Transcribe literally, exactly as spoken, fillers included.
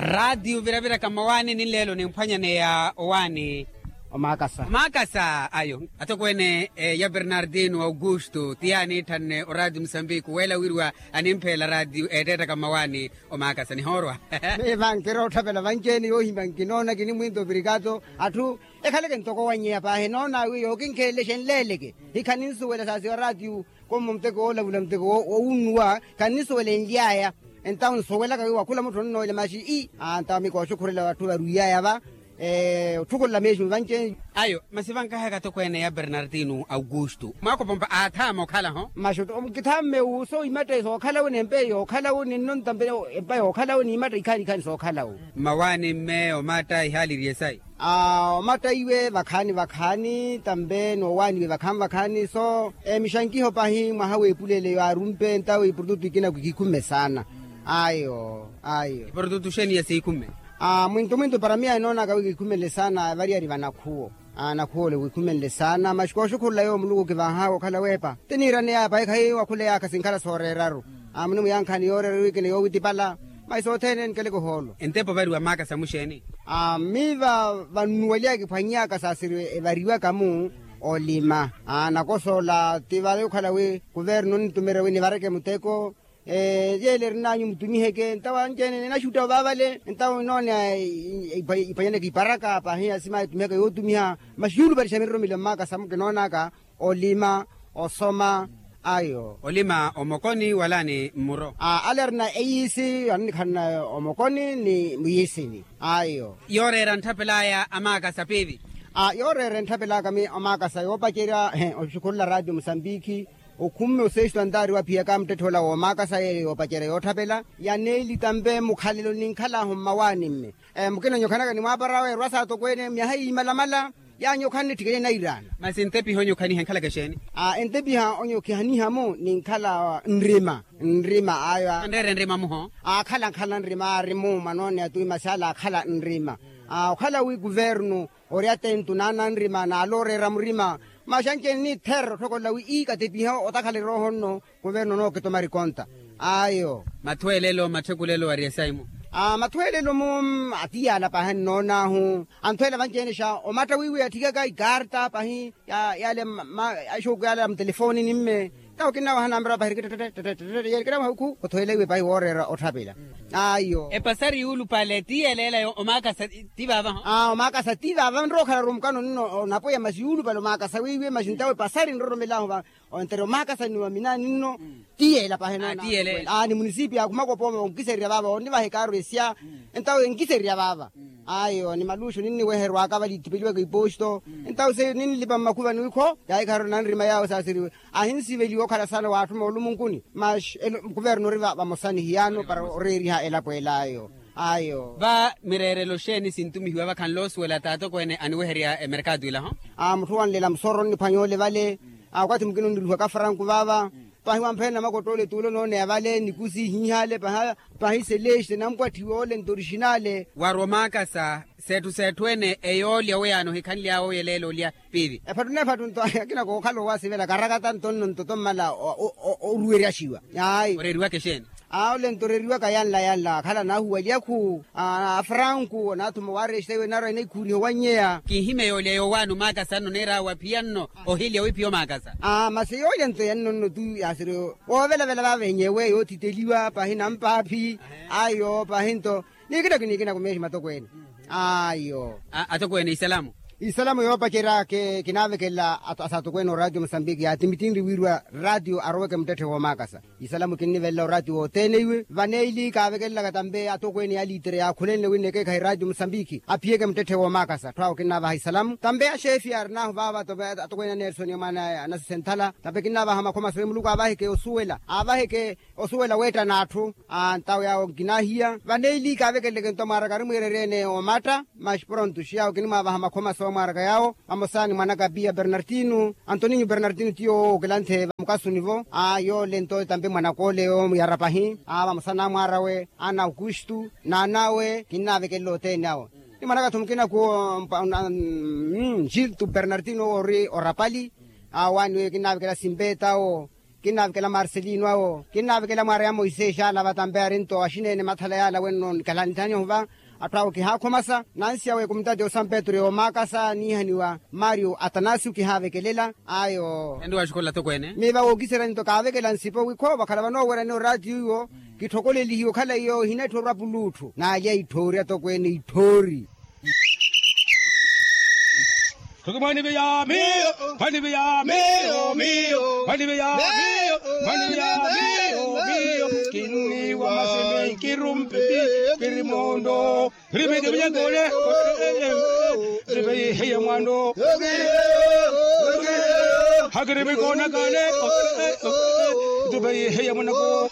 Raatiyo viraviraka mmawaani ni nleelo nimphwanyaneya owaani. Omaakasa. Omaakasa ayo. Atokweene ya bernardino augusto ti yaaniitthanne oraatiyo musambiki weela wiriwa animpheela raatiyo eetteettaka mmawaani. Omaakasa nihoorwa. Miiva nkirootthavela vanci-ene yoohimya nkinoona kini mwinto virikato atthu ekhaleke ntoko wanyeya paahi noona wi yookinkheelele xenleeleke. Hikhaninsuwela saasiwa raatiyo. Komo muteko woolavula muteko wowunnuwa. Khanisuwela enly'aya. Entawo nsuwelaka wi wakhula mutthu onnoolya maxi ii. Entawo mikooxukhurela atthu varwiy'aya va. Otthukulela meexumi vanci-ene. Ayo masi vankahaka atokweene ya bernardino augusto mwaakopompa aathaama okhalaho. Masi kithaame wu soomatta sookhala wu n'empa yookhala wu ninno ntampe empa yookhala wu n'imatta ikhaani ikhaani sookhala wu. Mmawaani mme omatta ihaali iri esayi. Omatta iwe vakhaani vakhaani tampe noowaaniwe vakhaani vakhaani so. Mixankiho pahi mwaha w'epulele yaarumpe entawo iprotutu ikina kikikhumme saana. Ayo ayo. Iprotutu xeeni ya siikhumme? Mwinto mwinto para miyo enoonaka wi kikhumenle saana variyari va nakhuwo. Nakhuwo ole wikhumenle saana masi kooxukhurula yoowo muluku kivahaka okhala weepa ti niiraneyaya pahi khayi wakhuleyaka sinkhala sooreeraru. Munimuyankhani yooreera wikina yoowitipala. Masi sothene nikeleke ohoolo. Entepa ovariwa maakasa muxeeni? Miiva vannuwaliyaka kiphwanyaka saasiri evariwaka-mu olima. Nakosoola ti vale okhala wi kuvernu onitumerya wi nivareke muteko. Yeele erinanyu mutumiheke ntawo anci-ene enaxuttawo vaavale ntawo enooneya. Iphwanyaneke iparaka pahi asima etumihaka yootumiha. Masi yuulupalixa miroromelo mmaakasa mukinoonaka olima osoma. Ayo. Olima omokoni wala ni mmuro? Ale arina eyiisi aninikhalana omokoni ni muyiisini. Ayo. Yooreera ntthapel'aya amaakasa piivi? Yooreera enttapel'aka amaakasa yoopacerya oxukhurula raatiyo musambiki. Okhumme osexitu antaari waphiyaka muttetthe ola woomaakasa yeeyo yoopacerya yootthapela. Ya neeli tampe mukhalelo ninkhal'ahu mmawaani-mme. Mukina onyokhanaka ni mwaapara awe erwa saatokweene myaha iimalamala. Yaanyu okhanne tthikene nairaana. Masi entepiha onyokhaniha enkhalaka exeeni? Entepiha onyokhaniha-mu ninkhala nrima. Nrima ayo. Anreere nrima muho? Akhala nkhala nrima aari-mu mwanooneya tui masi ale akhala nrima. Okhala wi kuvernu ori attentu naana nrima naala oreera murima. Masi anci-ene niitherera otthokolela wi ii katepiha otakhala erooho nno. Kuvernu onookitoma rikonta. Ayo. Mathweelelo matthikulelo wari esayi-mu? Mathweelelo-mu atiyaala pahi annoon'ahu. Anthweela vanci-ene xa omatta wiiwi atthikaka ikarta pahi. Yale axuuku yale a mutelefooni ni mme. Tawo kinnawaha nampira pahi rikittettettettettettet yeeri kinnawaha wikhu othweela iwe pahi wooreera otthapela. Ayo. Epasari yuulupale ti yeeleela yo omaakasa ti vaava-ho? Omaakasa ti vaava nrowa okhala rumukano nno onapweya masi yuulupale omaakasa wiiwi masi ntawo epasari nroromel'ahu va. Ontere omaakasa ni wa minaani nno. Ti yeela pahi enoona. Ni munisipiya akhumaka opooma onkisererya vaava onnivaha ekaaru esya. Entawo enkisererya vaava. Ayo ni maluxu ninniweherwaka vale itipeliwaka iposto. Entawo se ninlipa mmakhuvani wikho yaahikharela nanrima yaawe saasiriwe. Ahinsiveliwa okhala saana waatthuma olumunkuni. Masi kuvernu ori vamosa ni hiyaano para oreeriha elapo el'ayo. Ayo. Va mireerelo xeeni sintumihiwa vakhanle osuwela t'atokweene aniweherya emerkatu ila-ho? Mutthu wanlela musoroni niphwanya ole vale. Wakathi mukina onniluhaka franku vaava. Pahi wamphweya namakottoole t'ule onooneya vale nikusi ihiihale. Pahi seleste nampwatthiwe ole nto orixinale. Wari omaakasa setthu setthu ene eyoolya weyaano ohikhanly'awe oyeleela olya piivi? Ephattu n'ephattu nto akina kookhala owasivela karakata nto nno nto tommala oruweryaxiwa. Ayi. Oreeriwaka exeeni? Ole nto oreeriwaka yanla yanla akhala naahuwalyaku. Afranku naathuma owarexita iwe naarwa enaikhuuriha owannyeya. Kinhimya yoolya yoowaani omaakasa nno neer'awe aphiya nno ohilya wiphiya omaakasa. Masi yoolya nto yanno nno tu yaasiri woovelavela vaava enyewe yoothiteliwa pahi nampaaphi. Ayo pahi nto nikinaku nikinaku meexi matokweene. Ayo. Atokweene isalamu. Isalamu yoopacerya kinaavekelela asaatokweene oraatiyo musambiki yaatimittinri wiiriwa raatiyo aroweke muttetthe woomaakasa. Isalamu kinnivelela oraatiyo wothene iwe vaneili kaavekelelaka tampe atokweene ya liitere yaakhulenle wi nnekeekhahe raatiyo musambiki aphiyeke muttetthe woomaakasa atthu awo kinnaavaha isalamu tampe axeefi aarin'ahu vaava tampe atokweene a nersoni mwaana anasisenthala tampe kinnaavaha makhoma sowi muluku aavaheke osuwela aavaheke osuwela weettana atthu. Ntawo yaawo nkinaahiya vaneili kaavekeleleke nto mwaaraka ari mwiirerye-ene omatta. Masi pronto xiyaawo kinimwaavaha makhoma soomwaaraka yaawo vamosa ni mwanaka piya bernardino antoninyo bernardino ti yoowo okilanthe vamukasuni-vo. Yoole nto tampe mwanaka ole yoomuyara pahi vamosa n'amwaar'awe ana aukustu n'an'awe kinnaavekelela othene awo. Ni mwanaka-tho mukina kuwo gilto bernardino owo ori orapali. Awaani weyo kinnaavekelela simpe tawo. Kinnavekela marcelino awo kinnavekela mwaari ya moisesi ala vatampe arinto axineene mathala yaala wenno nikhalanthanyoho va. Atthu awo kihaakhumasa nansi awo ekumutati osampetru yoomaakasa niihaniwa mario atanasio kihaavekelela. Ayo. Ende waxikola tokweene. Miiva wookiserya nto kaavekela nsipo wikho vakhala vanoowerya ni oraatiyo iwo. Kitthokolelihiwe okhala iyo hinetthoorwa puluutthu naalya itthoori atokweene itthoori. Mwaniviyami. Mwaniviyami. Mwaniviyami. Kinniwa masimi nkirumpi. Kirimundo. Ripiti vinyakole. Ripeihiye mwando. Hakiri vikonakale. Ripeihiye mwanako.